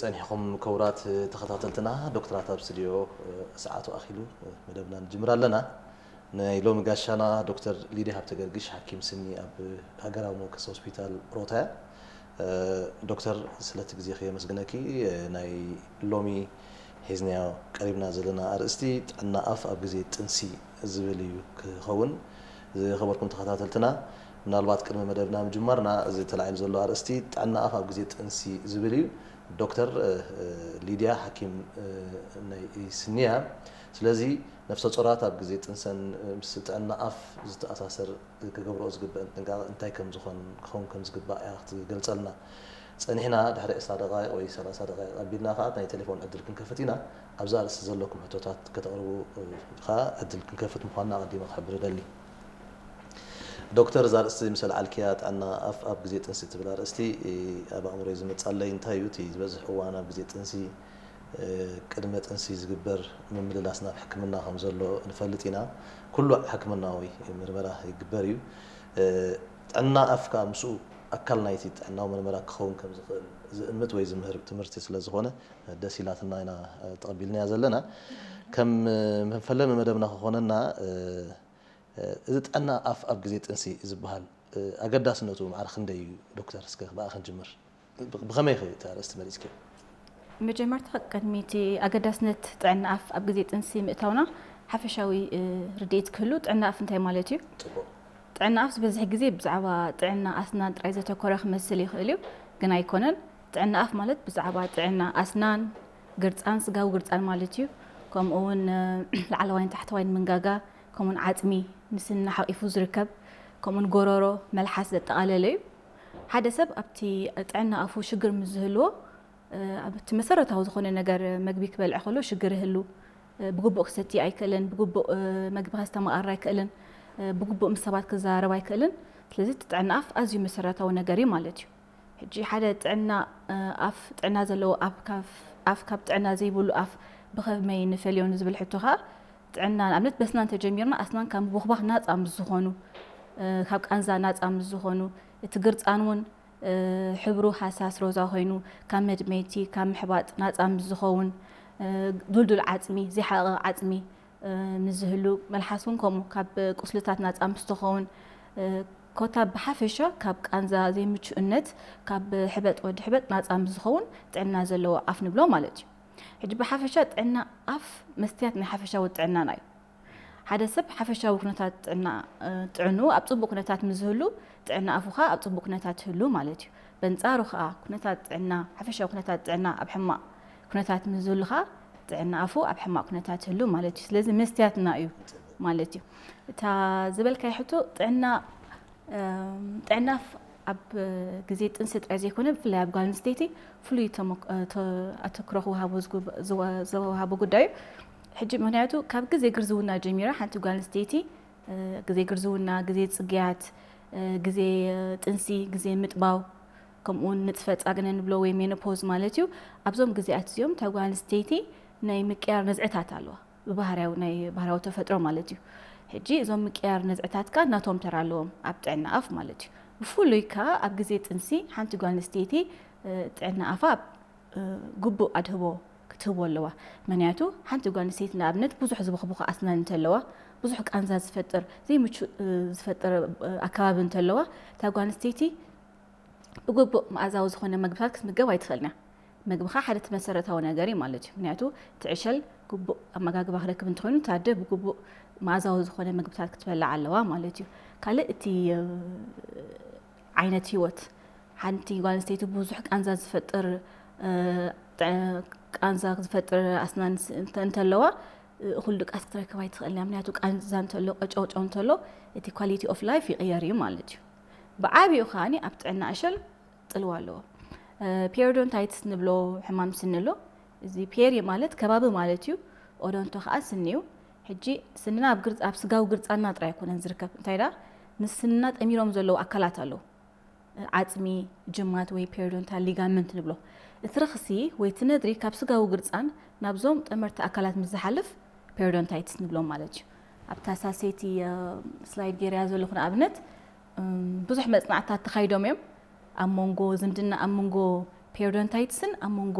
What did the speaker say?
ጸኒሕኩም ክቡራት ተኸታተልትና፣ ዶክተራት ኣብ ስቱድዮ ሰዓቱ ኣኺሉ መደብና ንጅምር ኣለና። ናይ ሎሚ ጋሻና ዶክተር ሊድያ ሃብተገርግሽ፣ ሓኪም ስኒ ኣብ ሃገራዊ መወከሲ ሆስፒታል ሮታ እያ። ዶክተር፣ ስለቲ ግዜኺ የመስግነኪ። ናይ ሎሚ ሒዝናዮ ቀሪብና ዘለና ኣርእስቲ ጥዕና ኣፍ ኣብ ግዜ ጥንሲ ዝብል እዩ ክኸውን። ዝኸበርኩም ተኸታተልትና፣ ምናልባት ቅድሚ መደብና ምጅማርና፣ እዚ ተላዒሉ ዘሎ ኣርእስቲ ጥዕና ኣፍ ኣብ ግዜ ጥንሲ ዝብል እዩ። ዶክተር ሊድያ ሓኪም ናይ ስኒ እያ። ስለዚ ነፍሰ ጾራት ኣብ ግዜ ጥንሰን ምስ ጥዕና ኣፍ ዝተኣሳሰር ክገብርኦ ዝግበአን ጥንቃቐ እንታይ ከም ዝኾን ክኸውን ከም ዝግባእ እያ ክትገልጸልና። ጸኒሕና ድሕሪ ዕስራ ደቓይቕ ወይ ሰላሳ ደቓይቕ ኣቢልና ከኣ ናይ ቴሌፎን ዕድል ክንከፍት ኢና። ኣብዛ ኣርእስቲ ዘለኩም ሕቶታት ከተቕርቡ ከኣ ዕድል ክንከፍት ምዃንና ኣቐዲመ ክሕብር እደሊ። ዶክተር፣ እዛ ኣርእስቲ ምስ ኣልዓልክያ ጥዕና ኣፍ ኣብ ግዜ ጥንሲ ትብል ኣርእስቲ ኣብ ኣእምሮይ ዝመጻለይ እንታይ እዩ? እቲ ዝበዝሕ እዋን ኣብ ግዜ ጥንሲ ቅድመ ጥንሲ ዝግበር ምምልላስ ናብ ሕክምና ከም ዘሎ ንፈልጥ ኢና። ኩሉ ሕክምናዊ ምርመራ ይግበር እዩ። ጥዕና ኣፍ ከኣ ምስኡ ኣካል ናይቲ ጥዕናዊ ምርመራ ክኸውን ከም ዝኽእል ዝእምት ወይ ዝምህር ትምህርቲ ስለ ዝኾነ ደስ ኢላትና ኢና ተቐቢልናያ ዘለና። ከም መፈለሚ መደብና ክኾነና፣ እዚ ጥዕና ኣፍ ኣብ ግዜ ጥንሲ ዝበሃል ኣገዳስነቱ ማዕረ ክንደይ እዩ ዶክተር? እስከ ብኣ ክንጅምር። ብኸመይ ኢኺ እቲ ኣርእስቲ መሪጽክዮ? መጀመርታ ቅድሚ እቲ ኣገዳስነት ጥዕና ኣፍ ኣብ ግዜ ጥንሲ ምእታውና ሓፈሻዊ ርድኢት ክህሉ ጥዕና ኣፍ እንታይ ማለት እዩ? ጽቡቕ። ጥዕና ኣፍ ዝበዝሕ ግዜ ብዛዕባ ጥዕና ኣስናን ጥራይ ዘተኮረ ክመስል ይኽእል እዩ፣ ግን ኣይኮነን። ጥዕና ኣፍ ማለት ብዛዕባ ጥዕና ኣስናን፣ ግርጻን፣ ስጋዊ ግርጻን ማለት እዩ። ከምኡ እውን ላዕለዋይን ታሕተዋይን መንጋጋ፣ ከምኡውን ዓጽሚ፣ ንስንና ሓቂፉ ዝርከብ፣ ከምኡውን ጎረሮ፣ መልሓስ ዘጠቓለለ እዩ። ሓደ ሰብ ኣብቲ ጥዕና ኣፉ ሽግር ምስ ዝህልዎ፣ ኣብቲ መሰረታዊ ዝኾነ ነገር፣ መግቢ ክበልዕ ከሎ ሽግር ይህሉ፣ ብግቡእ ክሰቲ ኣይክእልን፣ ብግቡእ መግቢ ከስተማቕር ኣይክእልን፣ ብግቡእ ምስ ሰባት ክዘራረብ ኣይክእልን። ስለዚ እቲ ጥዕና ኣፍ ኣዝዩ መሰረታዊ ነገር እዩ ማለት እዩ። ሕጂ ሓደ ጥዕና ኣፍ፣ ጥዕና ዘለዎ ኣፍ ካብ ጥዕና ዘይብሉ ኣፍ ብኸመይ ንፈልዮ ንዝብል ሕቶ ከኣ፣ ጥዕና ንኣብነት በስና እንተጀሚርና ኣስናን ካብ ምቦኽባኽ ናጻ ምስ ዝኾኑ፣ ካብ ቃንዛ ናጻ ምስ ዝኾኑ፣ እቲ ግርጻን እውን ሕብሩ ሃሳስ ሮዛ ኮይኑ ካብ መድመይቲ፣ ካብ ምሕባጥ ናጻ ምስ ዝኸውን፣ ዱልዱል ዓጽሚ፣ ዘይሓቐቐ ዓጽሚ ምስ ዝህሉ፣ መልሓስ እውን ከምኡ ካብ ቁስልታት ናጻ ምስ ትኸውን፣ ኮታ ብሓፈሻ ካብ ቃንዛ ዘይምቹእነት፣ ካብ ሕበጥ ወዲ ሕበጥ ናጻ ምስ ዝኸውን ጥዕና ዘለዎ ኣፍ ንብሎ ማለት እዩ። ሕጂ ብሓፈሻ ጥዕና ኣፍ መስትያት ናይ ሓፈሻዊ ጥዕናና እዩ። ሓደ ሰብ ሓፈሻዊ ኩነታት ጥዕና ጥዕኑ ኣብ ጽቡቕ ኩነታት ምስ ዝህሉ፣ ጥዕና ኣፉ ኸኣ ኣብ ጽቡቕ ኩነታት ይህሉ ማለት እዩ። በንጻሩ ኸኣ ኩነታት ጥዕና፣ ሓፈሻዊ ኩነታት ጥዕና ኣብ ሕማቕ ኩነታት ምስ ዝህሉ ኸኣ ጥዕና ኣፉ ኣብ ሕማቕ ኩነታት ይህሉ ማለት እዩ። ስለዚ መስትያትና እዩ ማለት እዩ። እታ ዝበልካዮ ሕቶ ጥዕና ጥዕና ኣፍ ኣብ ግዜ ጥንሲ ጥራይ ዘይኮነ ብፍላይ ኣብ ጓል ኣንስተይቲ ፍሉይ ኣተክሮ ክወሃቦ ዝወሃቦ ጉዳይ እዩ። ሕጂ ምክንያቱ ካብ ግዜ ግርዝውና ጀሚራ ሓንቲ ጓል ኣንስተይቲ ግዜ ግርዝውና፣ ግዜ ጽግያት፣ ግዜ ጥንሲ፣ ግዜ ምጥባው፣ ከምኡውን ንጥፈ ጻግነ ንብሎ ወይ ሜኖፖዝ ማለት እዩ። ኣብዞም ግዜያት እዚኦም እታ ጓል ኣንስተይቲ ናይ ምቅያር ነዝዕታት ኣለዋ። ብባህርያዊ ናይ ባህርያዊ ተፈጥሮ ማለት እዩ። ሕጂ እዞም ምቅያር ነዝዕታት ከኣ ናቶም ተራ ኣለዎም ኣብ ጥዕና ኣፍ ማለት እዩ። ብፍሉይ ከኣ ኣብ ግዜ ጥንሲ ሓንቲ ጓል ኣንስተይቲ ጥዕና ኣፋ ግቡእ ኣድህቦ ክትህቦ ኣለዋ። ምክንያቱ ሓንቲ ጓል ኣንስተይቲ ንኣብነት ብዙሕ ዝበኽብኹ ኣስናን እንተለዋ፣ ብዙሕ ቃንዛ ዝፈጥር ዘይምቹእ ዝፈጥር ኣከባቢ እንተለዋ፣ እታ ጓል ኣንስተይቲ ብግቡእ መኣዛዊ ዝኾነ መግብታት ክትምገብ ኣይትኽእልን እያ። መግቢ ኸኣ ሓደ እቲ መሰረታዊ ነገር እዩ ማለት እዩ። ምክንያቱ እቲ ዕሸል ግቡእ ኣመጋግባ ክረክብ እንተኾይኑ፣ እቲ ኣደ ብግቡእ መኣዛዊ ዝኾነ መግብታት ክትበልዕ ኣለዋ ማለት እዩ። ካልእ እቲ ዓይነት ህይወት ሓንቲ ጓል ኣንስተይቲ ብዙሕ ቃንዛ ዝፈጥር ቃንዛ ዝፈጥር ኣስናን እንተለዋ፣ እኹል ድቃስ ክትረክብ ኣይትኽእልን እያ። ምክንያቱ ቃንዛ እንተሎ፣ ቀጨውጨው እንተሎ፣ እቲ ኳሊቲ ኦፍ ላይፍ ይቕየር እዩ ማለት እዩ። ብዓቢኡ ከኣ ኣብ ጥዕና ዕሸል ጽልዋ ኣለዎ። ፔሪዶንታይትስ ንብሎ ሕማም ስኒ ኣሎ። እዚ ፔሪ ማለት ከባቢ ማለት እዩ። ኦዶንቶ ከኣ ስኒ እዩ። ሕጂ ስንና ኣብ ግርጽ-፣ ኣብ ስጋዊ ግርጻና ጥራይ ኣይኮነን ዝርከብ። እንታይ ደኣ፣ ንስንና ጠሚሮም ዘለዉ ኣካላት ኣለዉ። ዓጽሚ፣ ጅማት ወይ ፔሪዶንታል ሊጋመንት ንብሎ። እቲ ረኽሲ ወይ እቲ ነድሪ ካብ ስጋዊ ግርጻን ናብዞም ጠመርቲ ኣካላት ምስ ዝሓልፍ ፔሪዶንታይትስ ንብሎም ማለት እዩ። ኣብታ ሳልሰይቲ ስላይድ ገይረያ ዘለኹ ንኣብነት ብዙሕ መጽናዕትታት ተኻይዶም እዮም። ኣብ መንጎ ዝምድና ኣብ መንጎ ፔሪዶንታይትስን ኣብ መንጎ